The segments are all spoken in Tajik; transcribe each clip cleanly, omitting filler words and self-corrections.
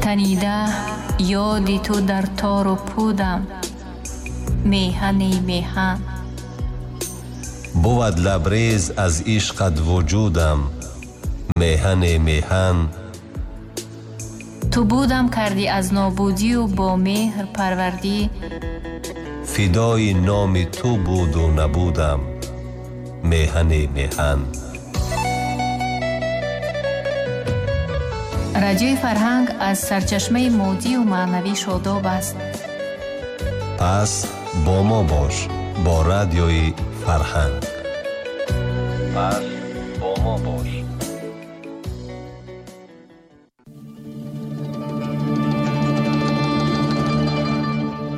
Танида ёди ту дар тору пудам, меҳани меҳан. Бувад лабрез аз ишқат вуҷудам, меҳани меҳан. Ту будам кардӣ аз нобудию бо меҳр парвардӣ. Фидои номи ту буду набудам, меҳани меҳан. Радиои Фарҳанг аз сарчашмаи моддию маънавӣ шодоб аст. Пас бо мо бош, бо Радиои Фарҳанг. Пас бо мо бош.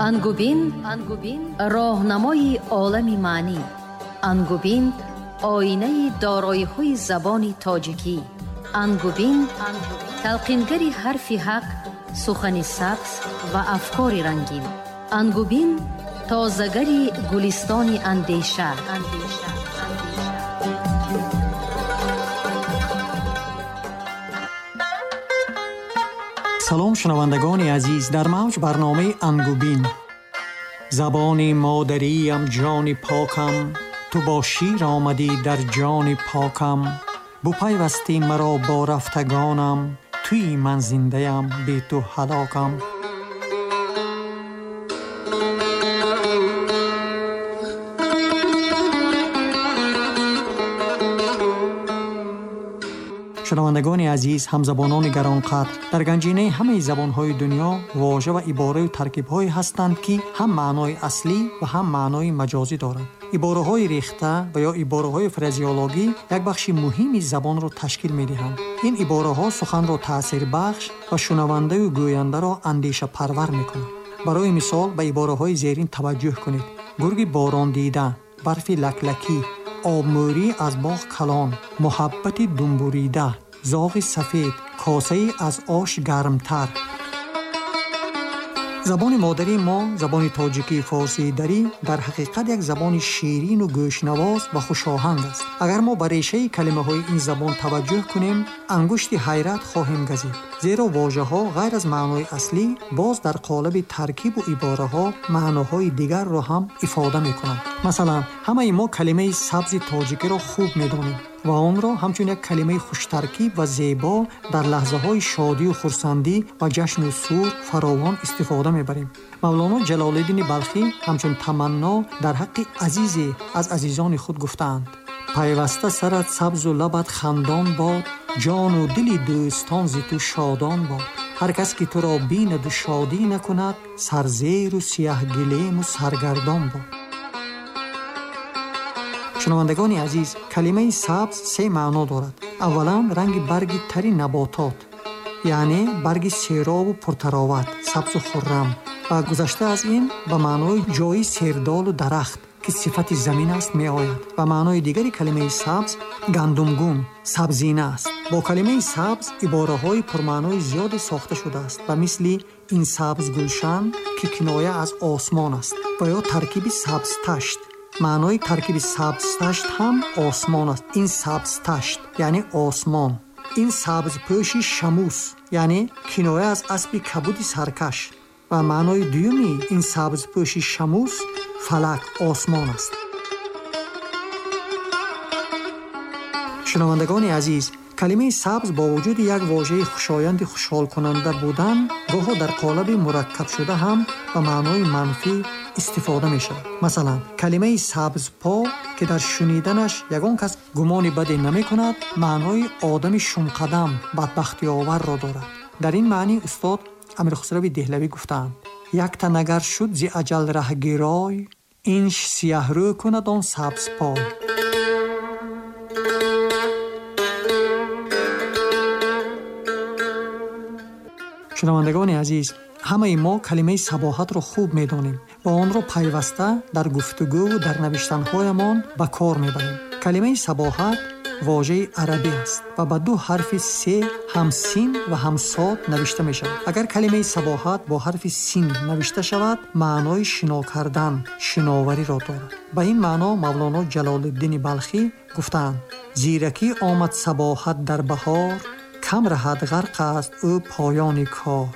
Ангубин, роҳнамои олами маънӣ. Ангубин, оинаи дороиҳои забони тоҷикӣ. Ангубин, талқингари ҳарфи ҳақ, сухани сабз ва афкори рангин. Ангубин, тозагари гулистони андеша. Салом, шунавандагони азиз, дар мавҷ барномаи Ангубин. Забони модариям ҷони покам, ту бо шир омадӣ дар ҷони покам. Бупайвастӣ маро бо рафтагонам, туи ман зиндаям, бе ту ҳалокам. Шунавандагони азиз, ҳамзабонони гаронқадр, дар ганҷинаи ҳамаи забонҳои дунё вожа ва ибораю таркибҳое ҳастанд, ки ҳам маънои аслӣ ва ҳам маънои маҷозӣ доранд. Ибораҳои рехта ва ё ибораҳои фразеологӣ як бахши муҳими забонро ташкил медиҳанд. Ин ибораҳо суханро таъсирбахш ва шунавандаю гӯяндаро андешапарвар мекунанд. Барои мисол ба ибораҳои зерин таваҷҷӯҳ кунед: гурги борондида, барфи лаклакӣ, обмӯрӣ аз боғ калон, муҳаббати думбурида, зоғи сафед, косаи аз ош гармтар. Забони модарии мо, забони тоҷикии форсии дарӣ, дар ҳақиқат як забони ширину гӯшнавоз ва хушоҳанг аст. Агар мо ба решаи калимаҳои ин забон таваҷҷӯҳ кунем, ангушти ҳайрат хоҳем газид, зеро вожаҳо ғайр аз маънои аслӣ боз дар қолаби таркибу ибораҳо маъноҳои дигарро ҳам ифода мекунанд. Масалан, ҳамаи мо калимаи сабзи тоҷикиро хуб медонем ва онро ҳамчун як калимаи хуштаркиб ва зебо дар лаҳзаҳои шодию хурсандӣ ва ҷашну сур фаровон истифода мебарем. Мавлоно Ҷалолиддини Балхӣ ҳамчун таманно дар ҳаққи азизе аз азизони худ гуфтаанд: пайваста сарат сабзу лабат хандон бод, ҷону дили дӯстон зи ту шодон бод. Ҳар кас ки туро бинаду шодӣ накунад, сарзеру сияҳгилему саргардон бод. Шунавандагони азиз, калимаи сабз се маъно дорад. Аввалан, ранги барги тари наботот, яъне барги серобу пуртароват, сабзу хуррам, ва гузашта аз ин ба маънои ҷои сердолу дарахт, ки сифати замин аст, меояд. Ва маънои дигари калимаи сабз гандумгун, сабзина аст. Бо калимаи сабз ибораҳои пурмаънои зиёде сохта шудааст, ба мисли ин сабз гулшан, ки киноя аз осмон аст, ва ё таркиби сабзташт. Маънои таркиби сабзташт ҳам осмон аст. Ин сабзташт яъне осмон. Ин сабзпӯши шамус, яъне киноя аз аспи кабуди саркаш. Ва маънои дуюми ин сабзпӯши шамус фалак, осмон аст. Шунавандагони азиз, калимаи сабз бо вуҷуди як вожаи хушоянди хушҳолкунанда будан, гоҳо дар қолаби мураккабшуда ҳам ба маънои манфӣ истифода мешавад. Масалан, калимаи сабзпо, ки дар шуниданаш ягон кас гумони баде намекунад, маънои одами шумқадам, бадбахтиоварро дорад. Дар ин маънӣ устод Амирхусрави Деҳлавӣ гуфтаанд: якта нагар шуд зи аҷал раҳгирой, инш сияҳрӯ кунад он сабзпой. Шунавандагони азиз, ҳамаи мо калимаи сабоҳатро хуб медонем ва онро пайваста дар гуфтугӯву дар навиштанҳоямон ба кор мебарем. Калимаи сабоҳат вожаи арабӣ аст ва ба ду ҳарфи се ҳам син ва ҳам сод навишта мешавад. Агар калимаи сабоҳат бо ҳарфи син навишта шавад, маънои шино кардан, шиновариро дорад. Ба ин маъно Мавлоно Ҷалолиддини Балхӣ гуфтаанд: зиракӣ омад сабоҳат дар баҳор, Кам раҳад ғарқ аст ӯ поёни кор.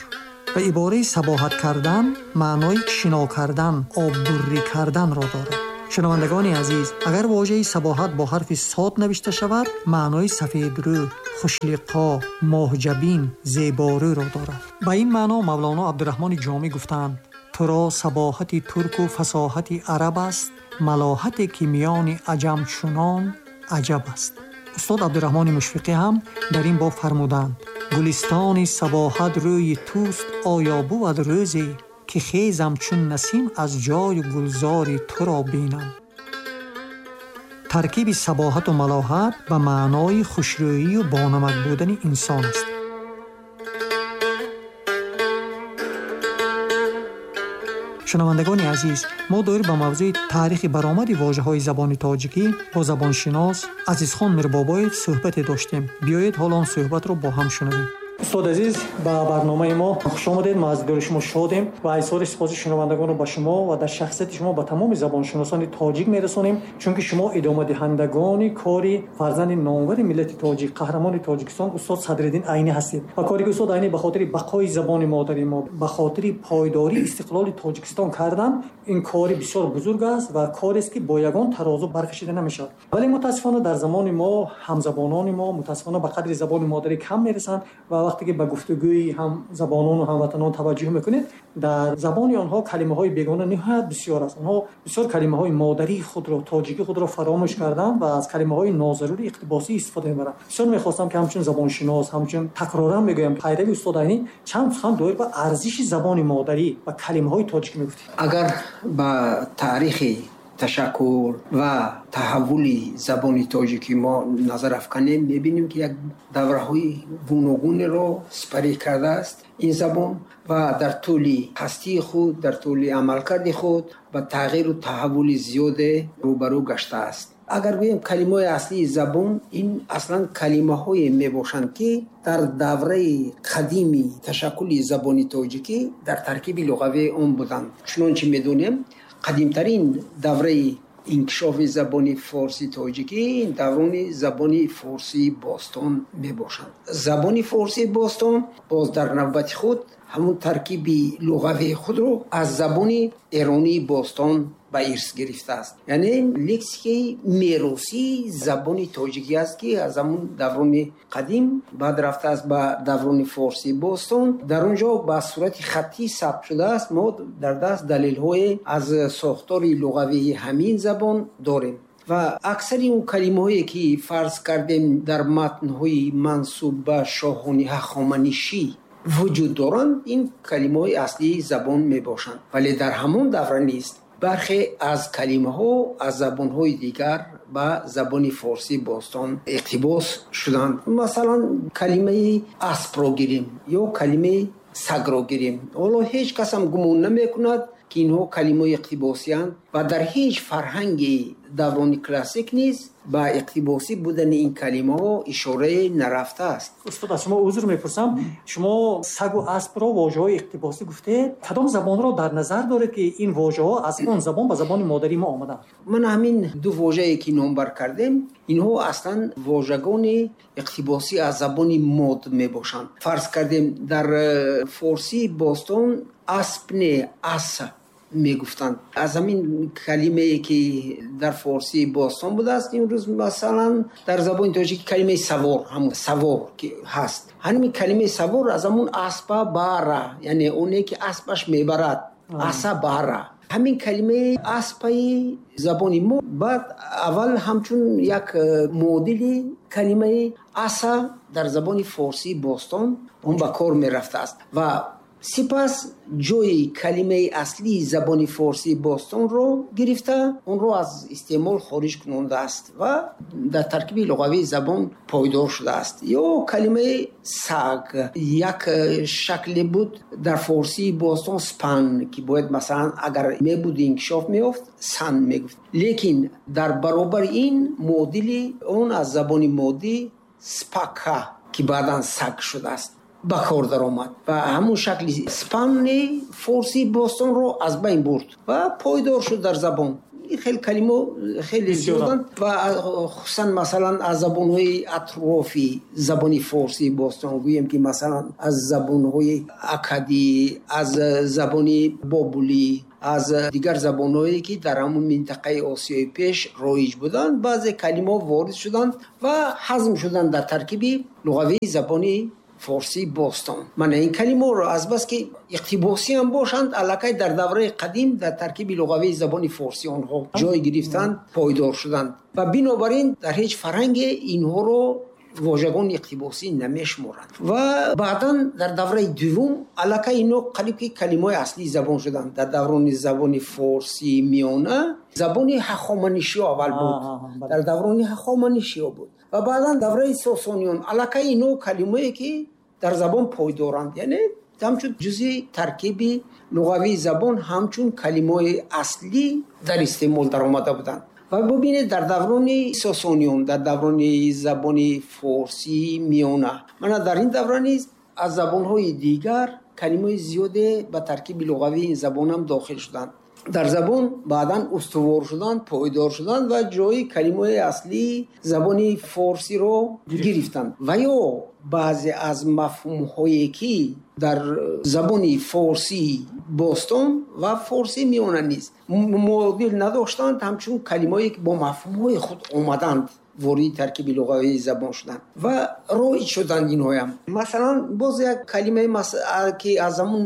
Ва ибораи сабоҳат кардан маънои шино кардан, оббуррӣ карданро дорад. Шунавандагони азиз, агар вожаи сабоҳат бо ҳарфи сод навишта шавад, маънои сафедрӯ, хушлиқо, моҳҷабин, зеборӯро дорад. Ба ин маъно Мавлоно Абдураҳмони Ҷомӣ гуфтаанд: туро сабоҳати турку фасоҳати араб аст, малоҳате ки миёни аҷам чунон аҷаб аст. Устод Абдураҳмони Мушфиқӣ ҳам дар ин боб фармуданд: гулистони сабоҳат рӯи туст, оё бувад рӯзе ки хезам чун насим аз ҷою гулзори туро бинам. Таркиби сабоҳату малоҳат ба маънои хушрӯию бонамак будани инсон аст. Шунавандагони азиз, мо доир ба мавзӯи таърихи баромади вожаҳои забони тоҷикӣ бо забоншинос Азизхон Мирбобоев суҳбате доштем. Биёед ҳоло он суҳбатро бо ҳам шунавем. Устод азиз, ба барномаи мо хуш омадед. Мо аз дидори шумо шодем ва изҳори сипоси шунавандагонро ба шумо ва дар шахсияти шумо ба тамоми забоншиносони тоҷик мерасонем, чунки шумо идомадиҳандагони кори фарзанди номвари миллати тоҷик, қаҳрамони Тоҷикистон устод Садриддин Айнӣ ҳастед. Ва кори ки устод Айнӣ ба хотири бақои забони модари мо, ба хотири пойдории истиқлоли Тоҷикистон кардан, ин кори бисёр бузург аст ва корест ки бо ягон тарозу баркашида намешавад. Вале мутаассифона дар замони мо ҳамзабонони мо мутаассифона ба қадри забони модарӣ кам мерасанд ва вақте ки ба гуфтугӯи ҳамзабонон ва ҳамватанон таваҷҷӯҳ мекунед, дар забони онҳо калимаҳои бегона ниҳоят бисёр аст. Онҳо бисёр калимаҳои модарии худро, тоҷикии худро фаромӯш карданд ва аз калимаҳои нозарури иқтибосӣ истифода мебаранд. Бисёр мехостам ки ҳамчун забоншинос, ҳамчун такроран мегӯям, пайрави устод Айнӣ, чанд сухан доир ба арзиши забони модарӣ ва калимаҳои тоҷикӣ мегуфтед. Агар ба таърихи ташаккул ва таҳаввули забони тоҷикӣ мо назар афканем, мебинем ки як давраҳои гуногунеро сипарӣ кардааст ин забон ва дар тӯли ҳастии худ, дар тӯли амалкарди худ ба тағйиру таҳаввули зиёде рӯбарӯ гаштааст. Агар гӯем калимаҳои аслии забон, ин аслан калимаҳое мебошанд, ки дар давраи қадими ташаккули забони тоҷикӣ дар таркиби луғавии он буданд. Чунончи медонем, қадимтарин давраи инкишофи забони форсии тоҷикӣ даврони забони форсии бостон мебошанд. Забони форсии бостон боз дар навбати худ ҳамун таркиби луғавии худро аз забони эронии бостон ба ирс гирифтааст. Яъне лексикаи меросии забони тоҷикӣ аст, ки аз ҳамун даврони қадим баъд рафтааст ба даврони форсии бостон. Дар он ҷо ба сурати хаттӣ сабт шудааст. Мо дар даст далелҳое аз сохтори луғавии ҳамин забон дорем. Ва аксари он калимаҳое ки фарз кардем дар матнҳои мансуб ба шоҳони ҳахоманишӣ вуҷуд доранд, ин калимаҳои аслии забон мебошанд. Вале дар ҳамон давра низ бархе аз калимаҳо аз забонҳои дигар ба забони форсии бостон иқтибос шуданд. Масалан, калимаи аспро гирем ё калимаи сагро гирем. Ҳоло ҳеҷ кас ҳам гумон намекунад, ки инҳо калимаҳои иқтибосиянд ва дар ҳеҷ фарҳанги даврони классик низ ба иқтибосӣ будани ин калимаҳо ишорае нарафтааст. Устод, аз шумо узр мепурсам, шумо сагу аспро вожаҳои иқтибосӣ гуфтед. Кадом забонро дар назар доред, ки ин вожаҳо аз он забон ба забони модарии мо омаданд? Ман ҳамин ду вожае ки номбар кардем, инҳо аслан вожагони иқтибосӣ аз забони мод мебошанд. Фарз кардем, дар форсии бостон асп не, ас мегуфтанд. Аз ҳамин калимае ки дар форсии бостон будааст, имрӯз масалан дар забони тоҷикӣ калимаи савор, ҳамун савор ки ҳаст, ҳамин калимаи савор аз ҳамун аспа бара, яъне оне ки аспаш мебарад, аса бара. Ҳамин калимаи аспаи забони мо баъд аввал ҳамчун як муодили калимаи аса дар забони форсии бостон он ба кор мерафтааст ва сипас ҷои калимаи аслии забони форсии бостонро гирифта, онро аз истеъмол хориҷ кунондааст ва дар таркиби луғавии забон пойдор шудааст. Ё калимаи саг як шакле буд дар форсии бостон спан, ки бояд масалан агар мебуд инкишоф меёфт сан мегуфт, лекин дар баробари ин муодили он аз забони моддӣ спака, ки баъдан саг шудааст, ба кор даромад ва ҳамун шакли спанни форсии бостонро аз байн бурд ва пойдор шуд дар забон. Ин хел калимаҳо хеле зиёданд ва хусусан масалан аз забонҳои атрофи забони форсии бостон, гӯем ки масалан аз забонҳои акадӣ, аз забони бобулӣ, аз дигар забонҳое ки дар ҳамон минтақаи Осиёи Пеш роиҷ буданд, баъзе калимаҳо ворид шуданд ва ҳазм шуданд дар таркиби луғавии забони форсии бостон. Мана ин калимаҳоро азбаски иқтибосӣ ҳам бошанд, аллакай дар давраи қадим дар таркиби луғавии забони форсӣ онҳо ҷой гирифтанд, пойдор шуданд ва бинобар ин дар ҳеҷ фарҳанге инҳоро вожагони иқтибосӣ намешуморанд. Ва баъдан дар давраи дуввум аллакай инҳо қариб ки калимаҳои аслии забон шуданд. Дар даврони забони форсии миёна забони ҳахоманишиё аввал буд, дар даврони ҳахоманишиё буд ва баъдан давраи сосониён аллакай инҳо калимае ки дар забон пойдоранд, яъне ҳамчун ҷузъи таркиби луғавии забон ҳамчун калимаҳои аслӣ дар истеъмол даромада буданд. Ва бубинед, дар даврони сосониён, дар даврони забони форсии миёна, мана дар ин давра низ аз забонҳои дигар калимаҳои зиёде ба таркиби луғавии ин забонам дохил шуданд. Дар забон баъдан устувор шуданд, пойдор шуданд ва ҷои калимаҳои аслии забони форсиро гирифтанд. Ва ё баъзе аз мафҳумҳое ки дар забони форсии бостон ва форсии миёна низ муодил надоштанд, ҳамчун калимаҳое ки бо мафҳумҳои худ омаданд, вориди таркиби луғавии забон шуданд ва роиҷ шуданд инҳоям. Масалан, боз як калимаи ки аз ҳамун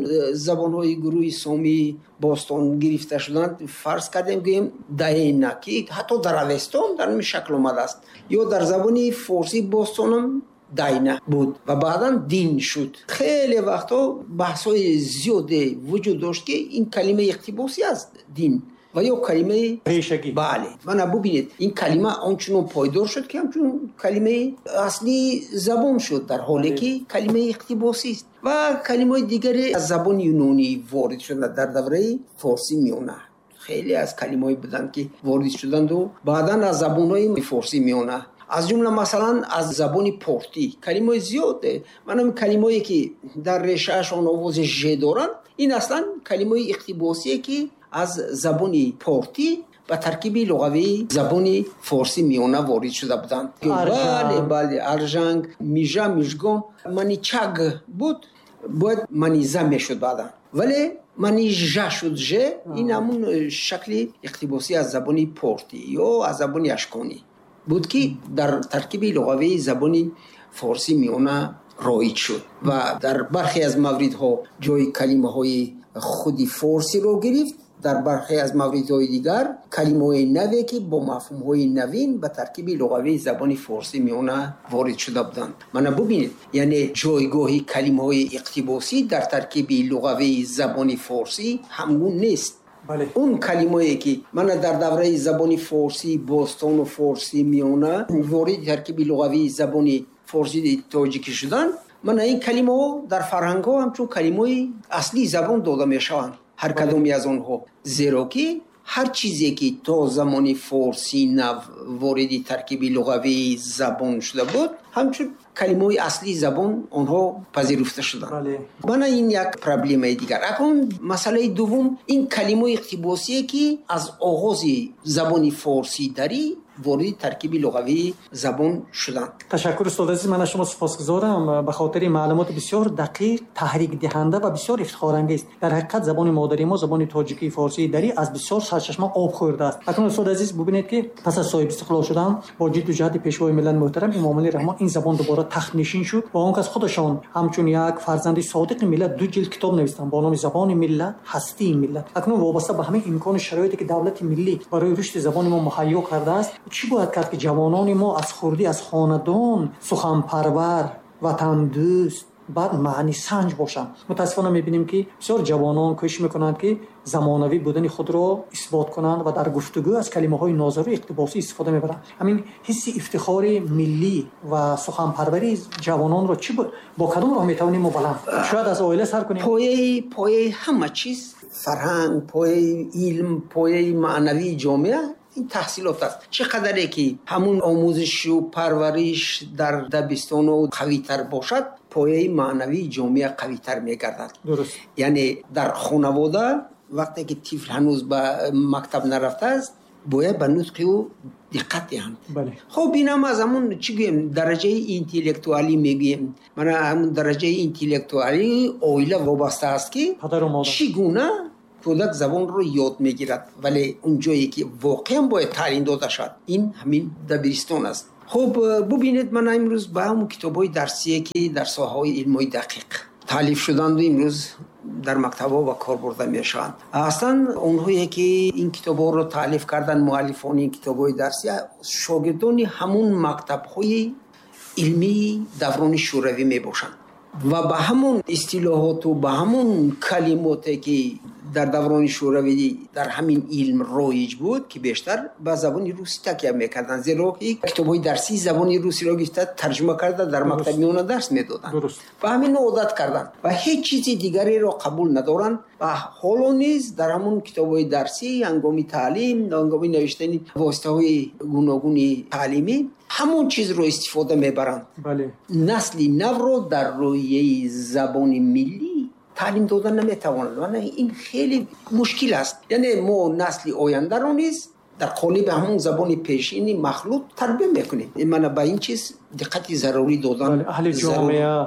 забонҳои гурӯҳи сомии бостон гирифта шуданд, фарз кардем гӯем даена, ки ҳатто дар Авестон дар ҳамин шакл омадааст, ё дар забони форсии бостонам дайна буд ва баъдан дин шуд. Хеле вақтҳо баҳсҳои зиёде вуҷуд дошт ки ин калимаи иқтибосӣ аст, дин, ва ё калимаи решагӣ. Бале, мана бубинед, ин калима ончунон пойдор шуд ки ҳамчун калимаи аслии забон шуд, дар ҳоле ки калимаи иқтибосист. Ва калимаҳои дигаре аз забони юнонӣ ворид шуданд дар давраи форсии миёна. Хеле аз калимаҳое буданд ки ворид шуданду баъдан аз забонҳои форсии миёна, аз ҷумла масалан аз забони портӣ калимаҳои зиёде. Манам калимаҳое ки дар решаашон овози ж доранд, ин аслан калимаҳои иқтибосие ки аз забони портӣ ба таркиби луғавии забони форсии миёна ворид шуда буданд. Бале, бале, аржанг, мижа, мижгон, маничаг буд, бояд маниза мешуд баъдан, вале манижа шуд ж. Ин ҳамун шакли иқтибосӣ аз забони портӣ ё аз забони ашконӣ буд ки дар таркиби луғавии забони форсии миёна роиҷ шуд ва дар бархе аз мавридҳо ҷои калимаҳои худи форсиро гирифт, дар бархе аз мавридҳои дигар калимаҳои наве ки бо мафҳумҳои навин ба таркиби луғавии забони форсии миёна ворид шуда буданд. Мана бубинед, яъне ҷойгоҳи калимаҳои иқтибосӣ дар таркиби луғавии забони форсӣ ҳамгун нест. Он калимае ки мана дар давраи забони форсии бостону форсии миёна вориди таркиби луғавии забони форсии тоҷикӣ шуданд, мана ин калимаҳо дар фарҳангҳо ҳамчун калимаҳои аслии забон дода мешаванд, ҳар кадоме аз онҳо, зеро ки ҳар чизе ки то замони форсии нав вориди таркиби луғавии забон шуда буд, ҳамчун калимаҳои аслии забон онҳо пазируфта шуданд. Мана ин як проблемаи дигар. Акнун масъалаи дуввум, ин калимаҳои иқтибосие ки аз оғози забони форсии дарӣ вориди таркиби луғавии забон шуданд. Ташаккур, устод азиз, ман аз шумо сипосгузорам ба хотири маълумоти бисёр дақиқ, таҳрикдиҳанда ва бисёр ифтихорангез. Дар ҳақиқат забони модари мо, забони тоҷикии форсии дарӣ, аз бисёр сарчашма об хӯрдааст. Акнун устод азиз, бубинед ки пас аз соҳиби истиқлол шудан бо ҷидду ҷаҳди пешвои миллат муҳтарам Эмомалӣ Раҳмон ин забон дубора тахтнишин шуд ва он кас худашон ҳамчун як фарзанди содиқи миллат 2 ҷилд китоб навиштанд бо номи Забони миллат, ҳастии миллат. Акнун вобаста ба ҳамин имкону шароите ки давлати миллӣ барои рушди забони мо муҳайё кардааст, чӣ бояд кард ки ҷавонони мо аз хурдӣ, аз хонадон суханпарвар, ватандӯст, баъд маънисанҷ бошанд? Мутаассифона мебинем ки бисёр ҷавонон кӯшиш мекунанд ки замонавӣ будани худро исбот кунанд ва дар гуфтугӯ аз калимаҳои нозару иқтибосӣ истифода мебаранд. Ҳамин ҳисси ифтихори миллӣ ва суханпарварии ҷавононро чӣ бо кадом роҳ метавонем мо баланд? Шояд аз оила сар кунем. Пояи ҳама чиз фарҳанг, пояи илм, пояи маънавии ҷомеа ин таҳсилот аст. Чӣ қадаре ки ҳамун омӯзишу парвариш дар дабистону қавитар бошад, пояи маънавии ҷомеа қавитар мегардад. Яъне дар хонавода вақте ки тифл ҳанӯз ба мактаб нарафтааст, Бояд ба нутқи ӯ диққат диҳанд. Хуб, инам аз ҳамун чӣ гӯем, дараҷаи интеллектуалӣ мегӯем. Мана ҳамун дараҷаи интеллектуалии оила вобаста аст, ки чӣ гуна кӯдак забонро ёд мегирад. Вале он ҷое ки воқеан бояд таълим дода шавад, ин ҳамин дабиристон аст. Хуб, бубинед, мана имрӯз ба ҳамун китобҳои дарсие, ки дар соҳаҳои илмҳои дақиқ таълиф шуданду имрӯз дар мактабҳо ба кор бурда мешаванд. Аслан онҳое ки ин китобҳоро таълиф карданд, муаллифони ин китобҳои дарсӣ шогирдони ҳамун мактабҳои илмии даврони шӯравӣ мебошанд ва ба ҳамон истилоҳоту ба ҳамон калимоте ки дар даврони шӯравӣ дар ҳамин илм роиҷ буд, ки бештар ба забони русӣ такя мекарданд, зеро ки китобҳои дарсии забони русиро гирифта тарҷума карда дар мактаби миёна дарс медоданд. Ба ҳамин одат карданд ва ҳеҷ чизи дигареро қабул надоранд. Ва ҳоло низ дар ҳамон китобҳои дарсӣ ҳангоми таълим, ҳангоми навиштани воситаҳои гуногуни таълимӣ ҳамон чизро истифода мебаранд. Насли навро дар рӯҳияи забони миллӣ таълим дода наметавонад. Мана ин хеле мушкил аст. Яъне мо насли ояндаро низ дар қолиби ҳамон забони пешини махлут тарбия мекунем. Мана ба ин чиз диққати зарурӣ додан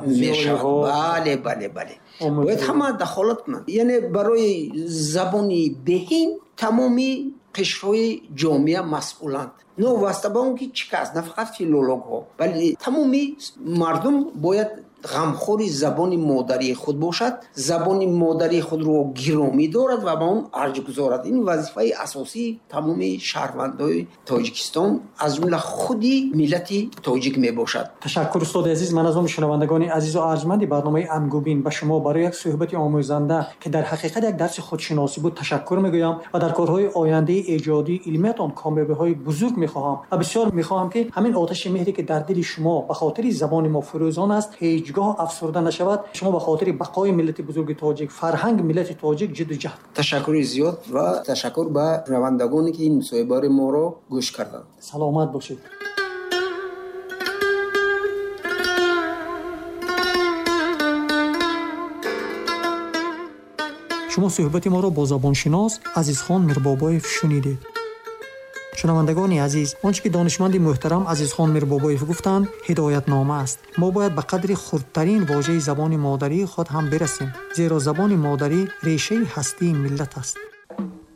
мешавад. Бале, бале, бале, бояд ҳама дахолат кунанд. Яъне барои забони беҳин тамоми қишрҳои ҷомеа масъуланд, новобаста ба он ки чӣ кас, на фақат филологҳо, бале тамоми мардум бояд ғамхори забони модарии худ бошад, забони модарии худро гиромӣ дорад ва ба он арҷ гузорад. Ин вазифаи асосии тамоми шаҳрвандои Тоҷикистон, аз ҷумла худи миллати тоҷик мебошад. Ташаккур, устоди азиз. Ман аз номи шунавандагони азизу арҷманди барномаи Ангубин ба шумо барои як суҳбати омӯзанда, ки дар ҳақиқат як дарси худшиносӣ буд, ташаккур мегӯям ва дар корҳои ояндаи эҷодии илмиятон комёбиҳои бузург мехоҳам ва бисёр мехоҳам, ки ҳамин оташи меҳре, ки дар дили шумо ба хотири забони мо фурӯзон аст, ҳеҷгоҳ афсурда нашавад. Шумо ба хотири бақои миллати бузурги тоҷик, фарҳанги миллати тоҷик ҷидду ҷаҳд. Ташаккури зиёд ва ташаккур ба шунавандагоне, ки ин мусоҳибаи моро гӯш карданд. Саломат бошед. Шумо суҳбати моро бо забоншинос Азизхон Мирбобоев шунидед. Шунавандагони азиз, он чӣ ки донишманди муҳтарам Азизхон Мирбобоев гуфтанд, ҳидоятнома аст. Мо бояд ба қадри хурдтарин вожаи забони модарии худ ҳам бирасем, зеро забони модарӣ решаи ҳастии миллат аст.